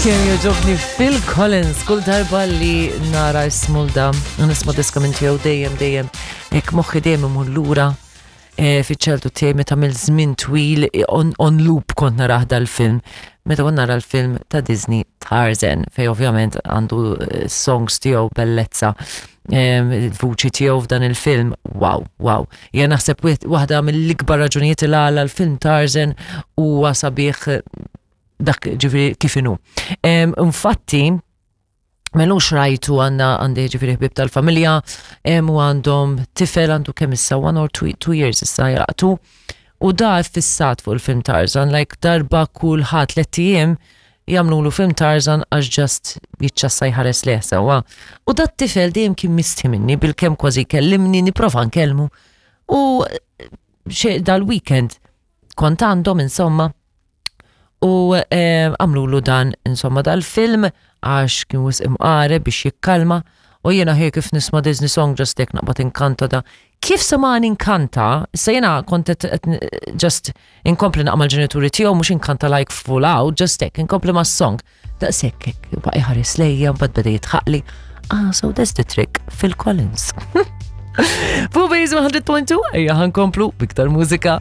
Kemm jogħġobni Phil Collins kull darba li nara ismu da nisma' diska minn tiegħu dejjem dejjem hekk moħħi dejjem imur lura eh, fiċ-ċeltu tiegħi meta mill żmien twil eh, on, on loop kont narah dal-film. Meta kont nara l-film ta' Disney Tarzan, fej ovvjament għandu eh, songs tiegħu bellezza il-vuċi tiegħu f'dan il-film, wow, wow. Jien naħseb waħda mill-ikbar raġunijiet il għala l-film Tarzan huwa sabiħ dak ġifieri kif inhu. Infatti, melux rajtu għanna għandi ġifiri ħbib tal-familja, u għandhom tifel għandu kemm issa one or two, years issa jaqtu. U da fissat fuq il-film Tarzan, like darba kull ħadd tliet jagħmlulu film Tarzan għax just jiċċassa jħares leh sewwa. U dat tifel dejjem kien mistħi minni bil-kemm kważi kellimni nipprova nkellmu. U dal-weekend kont għandhom insomma u eh, għamlulu dan insomma dal-film għax kien wisq imqare biex jikkalma u jiena ħi kif nisma' Disney song just hekk naqbad inkanta da. Kif semani inkanta, issa jiena kont just inkompli naqma l-ġenituri tiegħu mhux inkanta like full out, just hekk inkompli mas-song. Daqshekk hekk baqa' jħares lejja mbagħad beda jitħaqli. Ah, so that's the trick, Phil Collins. Fuq Base 100.2, ejja ħankomplu biktar mużika.